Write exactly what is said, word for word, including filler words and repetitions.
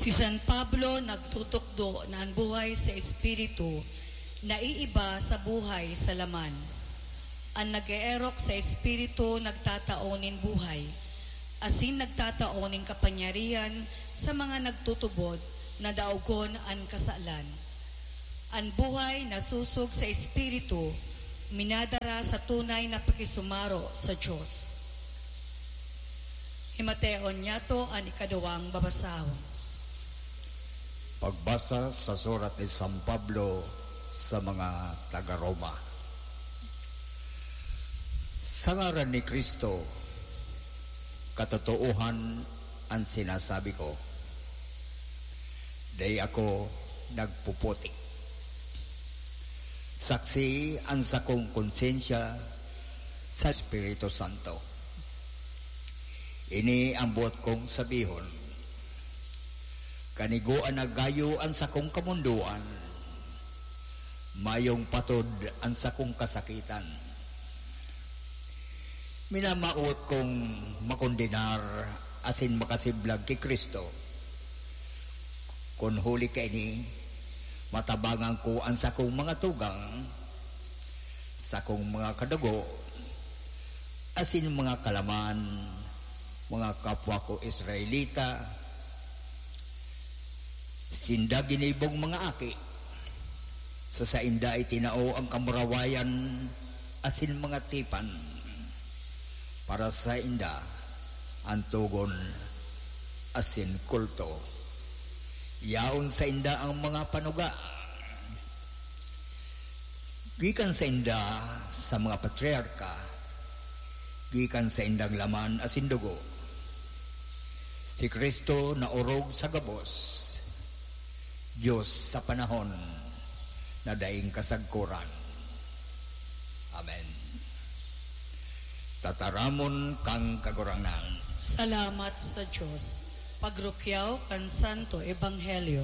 Si San Pablo nagtutukdo na an buhay sa Espiritu naiiba sa buhay sa laman. An nag-eerok sa Espiritu nagtatao nin buhay, asin nagtatao nin kapangyarihan sa mga nagtutubod na daogon an kasalan. An buhay na sosog sa Espiritu minadara sa tunay na pakisumaro sa Dios. Himateon niyato an ikaduwang babasahon. Pagbasa sa surat ni San Pablo sa mga taga-Roma. Sa ngaran ni Cristo, katotoohan an sinasabi ko. Dai ako nagpuputik. Saksi an sakong konsyensya sa Espiritu Santo. Ini ang boot kong sabihon. Kanigoan na gayo an sakong kamondoan. Mayong patod an sakong kasakitan. Minamawot kong makondenar asin makasiblag ki Cristo. Kun huli kaini, matabangan ko an sakong mga tugang, sakong mga kadugo, asin mga kalaman, mga kapwa ko Israelita, sinda ginibong mga aki. Sa sainda itinao ang kamurawayan asin mga tipan. Para sainda, an togon asin kulto. Yaon sainda ang mga panuga. Gikan sainda sa mga patriarka, gikan saindang laman asin dugo. Si Cristo naorog sa gabos, Dios sa panahon na daing kasagkoran. Amen. Tataramon kan Kagurangnan. Salamat sa Dios. Pagrukyaw kan Santo Ebanghelyo.